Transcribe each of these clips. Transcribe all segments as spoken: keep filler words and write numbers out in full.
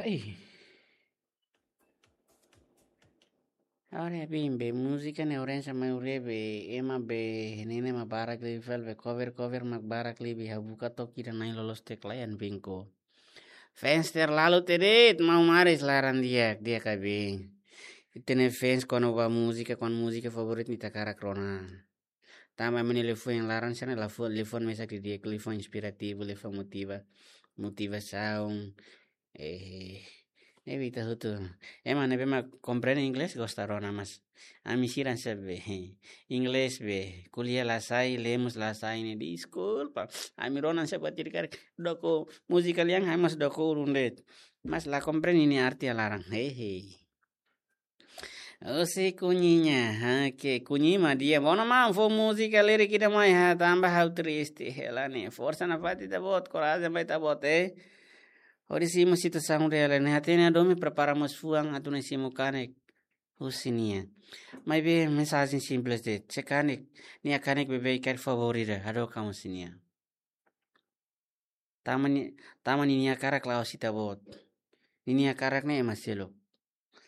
Ih. Agora bem, be múzika ne'e orensa maioria be ema be ne'e mak barak liu fali be cover, cover mak barak liu be habuka toki dan nai lolos tek layan bengko. Fans terlalu tedet, mau maris laran di'ak, di'ak ka be. Ita-nia fans kuandu ba múzika, kuandu múzika favorit ita hakarak rona. Tanba ema nia liafuan iha laran sira ne'e lafu-, liafuan mesak didi'ak, liafuan inspirativu, liafuan motiva-, motivasaun. Eh, ne'ebé ita hotu. Ema ne'ebé mak komprende inglés gosta rona, mas ami sira hanesan be, inglés be, ko'alia la sai, lemos la sai ne'e, deskulpa. Ami rona hanesan batir karik, doko múzika lian, ami mós doko urun de'it. Mas la komprende nia arte iha laran. Hehe. Husi Kuñi nian, ha, ke Kuñi mak di'ak. Bona maun, fó múzika lirik ida mai ha, tanba ha'u triste hela ne'e. Forsa nafatin ita-boot, korajen ba ita-boot, eh. Hodi simu situasaun reál ne'e, hatene hadomi prepara mós fuan atu nune'e simu kanek husi nia. Maibé mensajen simples de'it, se kanek, nia kanek beibeik karik favór ida, hadook an husi nia. Tanba ni-, tanba ninia hakarak la'ós ita-boot. Ninia hakarak ne'e ema seluk.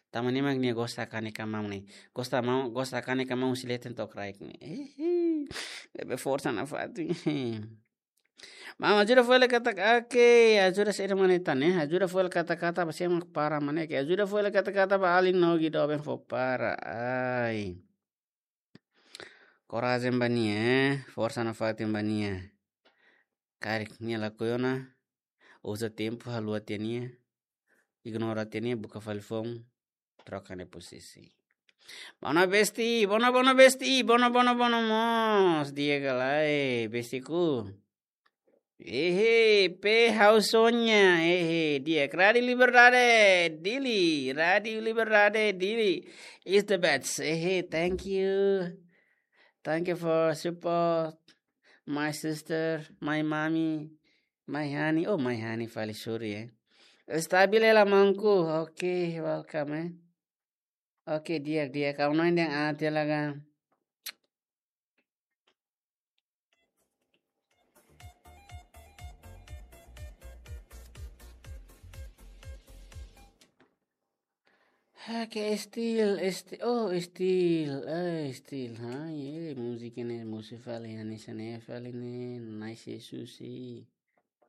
Tanba ne'e mak nia gosta kanek maun ne'e. Gosta maun, gosta kanek maun husi leten to'o kraik ne'e. Ehe. Ne'ebé forsa nafatin. Maun, ajuda fó hela katak, oke, ajuda saida mak ne'e tan, eh. Ajuda fó hela katak-katak ba sé mak para mak ne'e. Ke ajuda fó hela katak-katak ba alin Nogi doben fó para. Ai. Korajen ba nia, eh. Forsa nafatin ba nia. Karik nia lakohi ona, uza tempu haluha tiha nia, ignora tiha nia, buka fali foun, troka nia posisi. Bona besti, bona, bona besti, bona, bona, bona mós, di'ak ka lae, bestiku. Ehe, pe ha'u sonha, ehe, di'ak. Rádiu Liberdade, Dili, Rádiu Liberdade, Dili is the best. Ehe, thank you. Thank you for support, my sister, my mommy, my honey. Oh, my honey, fali, sorry, eh. Stabil hela maunku. Oke, welcome, eh. Oke, di'ak, di'ak. Kau noin yang ate lagan. Ha, ke Estil, Esti-, oh, Estil, eh, Estil, ha, ye, múzika ne'e, múzika fali, hanesan ne'e fali ne'e, nice, Susi.